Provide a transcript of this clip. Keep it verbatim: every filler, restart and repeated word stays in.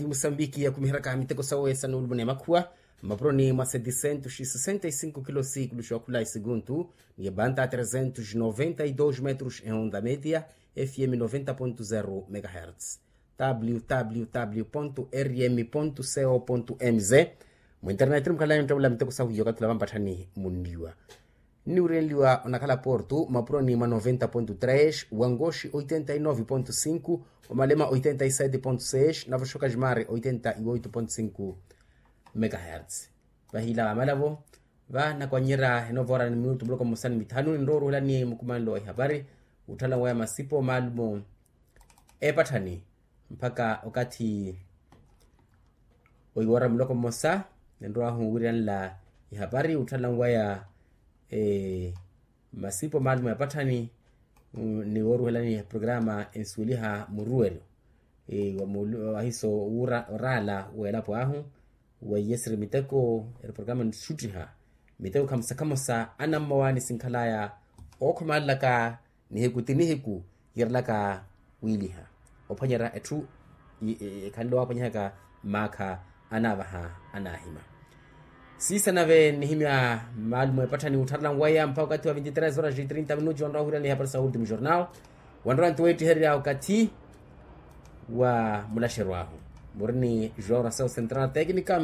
Musambiki ya kumiheraka miteko sawe sa nuulumo n'emakhuwa, mmapuroni mwa setisentos sesenta e sinku kilosi kuluxiwa khula esikuntu, ni ebanta tresentos noventa e dos metros ehonda media, fm noventa ponto zero megahertz, www rm co mz. Mu internet mukhalani onttavula miteko sahu iyo okathi ula vampatthani munliwa. Nniwurenliwa onakhala portu mapuroni mwa noventa ponto tres, wankoxi oitenta e nove ponto cinco, omalema oitenta e sete ponto seis navo xokajimari oitenta e oito ponto cinco megahertz. Vahila vamalavo, vanakwannyerya enovoora ni minutu muloko mmosa ni mithanu ninrowa oruhelani mukumanelo wa ihapari, wutthalawa ya masipo maalumo epatthani mpakha okathi oiwoora muloko mmosa. Ninrowahu wiiranla ihapari wutthalawa ya masipo maalumo ya patthani ni wooruhelani programa ensuweliha muruweryo wa muulu ahiso oraala w'elapo ahu, wa iyesiri miteko eri programa nixuttiha miteko khamosa khamosa anammowa nisinkhalaya ookhomalelaka nihiku ti nihiku, yiirelaka wiiliha ophwanyerya etthu ekhanle waaphwanyihaka mmaakha anaavaha anaahima. Siisa nave nnihimya maalumo epatthani wuttharela nwaya mpakha okathi wa vinti tres horas e trinta minutos wanrowa wira ni hapari sa ultimo jornal. Wanrowa nti weettihererya okathi wa mulaxeryo ahu muri ni joração central técnica.